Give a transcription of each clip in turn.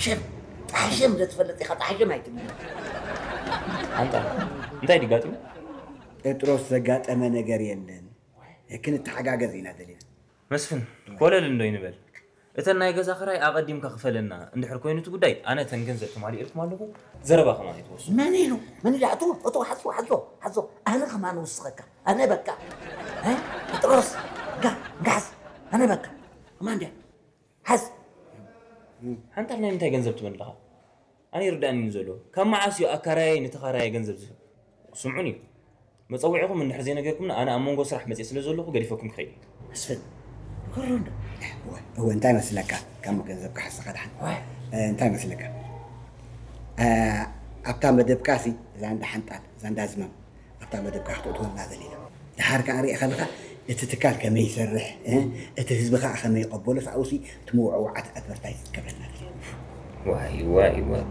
ጣሕሽም፣ ጣሕሽም ዘትፈልጥ ኢኻ፣ ጣሕሽም ኣይትብል። ኣንታ እንታይ ድጋጢሙ? ጴጥሮስ፣ ዘጋጠመ ነገር የለን፣ ክንተሓጋገዝ ኢና ደሊና። መስፍን፣ ኮለል እንዶ ይንበል። እተን ናይ ገዛ ክራይ ኣቐዲምካ ክፈለና እንድሕር ኮይኑ እቲ ጉዳይ፣ ኣነ እተን ገንዘብ ተማሊእልኩም ኣለኹ፣ ዘረባ ከማን ኣይትወስዱ። መን ኢሉ? መን ኢሉ? ኣቶ፣ ኣቶ፣ ሓዞ፣ ሓዞ፣ ሓዞ። ኣነ ከማን ውስኸካ። ኣነ በቃ። እ? ጴጥሮስ፣ ጋ፣ ጋዝ። ኣነ በቃ። ከማን ድያ? ሓዝ። ሓንታ ናይ ምንታይ ገንዘብ ትብል ኣለኻ? ኣነ ይርዳእኒ ዘሎ። ካብ መዓስ እዩ ኣካራያይ ንተኻራያይ ገንዘብ ዝህብ? ስምዑኒ። መጸውዒኹም እንድሕር ዘይነገርኩምና ኣነ ኣብ መንጎ ስራሕ መጽየ ስለ ዘለኹ ገዲፈኩም ክኸይድ እየ። መስፍን፣ ንገሮ እንዶ። እወ፣ እንታይ መስለካ? ካብ ገንዘብ ክሓስኻ ድሓን። እንታይ መስለካ? ኣብታ መደብካ ሲ እዛ እንዳ ሓንጣል፣ እዛ እንዳ ዝማም ኣብታ መደብካ ክትእትወልና ዘለና። ድሓር ከዓ ሪእኻ ኣለኻ እቲ ትካል ከመይ ይሰርሕ፣ እቲ ህዝቢ ከዓ ከመይ ይቐበሎ፣ ኣብኡ ሲ እቲ መወዕወዓት ኣድቨርታይዝ ክትገብረልና ዘለና። ዋይ ዋይ ዋይ፣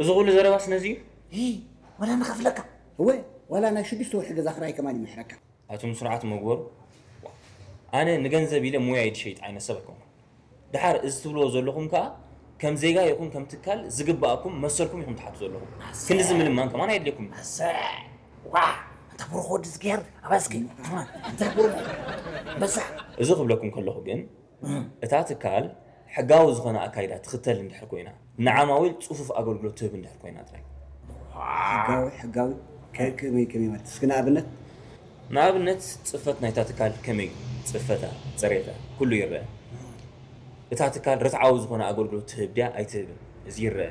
እዚ ኩሉ ዘረባስ ነዚ እዩ? ዋላ ንኸፍለካ። እወ፣ ዋላ ናይ ሽዱሽተ ወርሒ ገዛ ክራይ ከማን ይምሕረካ። ኣቱም ስርዓት መግበሩ። ኣነ ንገንዘብ ኢለ ሙያይ ዝሸይጥ ዓይነት ሰብ ኣይኮንኩን። ድሓር እዚ ትብልዎ ዘለኹም ከኣ ከም ዜጋ ይኹን ከም ትካል ዝግባኣኩም መሰልኩም ኢኹም ትሓቱ ዘለኹም። ክንድዚ ምልማን ከማን ኣየድልየኩም። ዋ፣ ኣንታ ብሩኽ ወዲ ዝገር ኣባስኪ። ኣንታ ብሩኽ በዛ። እዚ ክብለኩም ከለኹ ግን እታ ትካል ሕጋዊ ዝኾነ ኣካይዳ ትኽተል እንድሕር ኮይና፣ ንዓማዊል ጽፉፍ ኣገልግሎት ትህብ እንድሕር ኮይና ጥራይ። ሕጋዊ ሕጋዊ ከ- ከመይ ከመይ ማለት እስኪ ንኣብነት ንኣብነት ጽፈት ናይታ ትካል ከመይ እዩ? ጽፈታ፣ ጽሬታ፣ ኩሉ ይረአ። እታ ትካል ርትዓዊ ዝኾነ ኣገልግሎት ትህብ ድያ ኣይትህብን? እዚ ይረአ።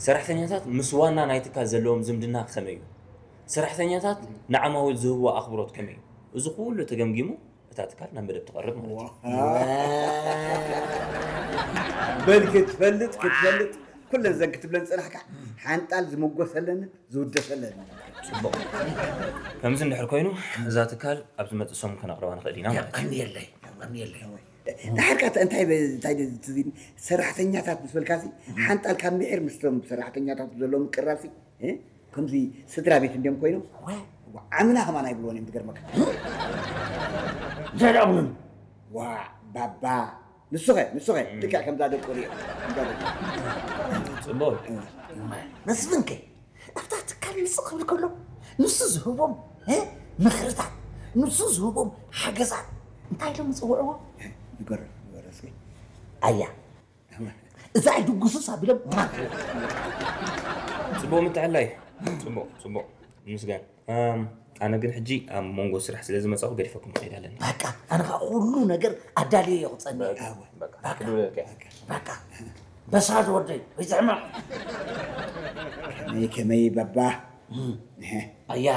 ሰራሕተኛታት ምስ ዋና ናይ ትካል ዘለዎም ዝምድና ከመይ እዩ? ሰራሕተኛታት ንዓማዊል ዝህብዎ ኣኽብሮት ከመይ እዩ? እዚ ኩሉ ተገምጊሙ እታ ትካል ናብ መደብ ትቐርብ ማለት እዩ። በል ክትፈልጥ ክትፈልጥ ኩለን ዘን ክትብለን ዝፀናሕካ ሓንጣል ዝምጎሰለን ዝውደሰለን። ጽቡቕ። ከምዚ እንድሕር ኮይኑ እዛ ትካል ኣብ ዝመጽእ ሰሙን ከነቕርባ ንኽእል ኢና ማለት እዩ። የቐንየለይ፣ የቐንየለይ። ድሓር ከ እንታይ እንታይ ትዝ ኢልኒ፣ ሰራሕተኛታት ምስ በልካሲ ሓንጣል ካብ ምሒር ምስቶም ሰራሕተኛታት ዘሎ ምቅራብሲ እ? ከምዚ ስድራ ቤት እንዲዮም ኮይኖም ዓምና ከማን ኣይብልዎን እዮም ዝገርመካ። ዘዳብሉን ዋ ባባ ንሱኸ ንሱኸ ልክዕ ከምዛ ደቁ ሪኦ ከምዛ ደቁ ጽቡቕ። መስፍንከ ኣብታ ትካል ምጽእ ክብል ከሎ ንሱ ዝህቦም እ? ምኽርታት ንሱ ዝህቦም ሓገዛት እንታይ ኢሎም ዝጽውዕዎ? ይገርም ይገርም እስኪ ኣያ እዛ ድጉስስ ኣቢሎም ጽቡቕ ምትዕላይ። ጽቡቕ ጽቡቕ። ምስጋን። ኣም፣ ኣነ ግን ሕጂ ኣብ መንጎ ስራሕ ስለ ዝመጻኹ ገዲፈኩም ክኸይድ ኣለኒ። በቃ ኣነ ከዓ ኩሉ ነገር ኣዳልየ እየ ክጸንሕ። በቃ ክድውለልካ እየ። በቃ በሳድ ወደይ ወይ ዝሕማቕ ከመይ ከመይ በባ ኣያ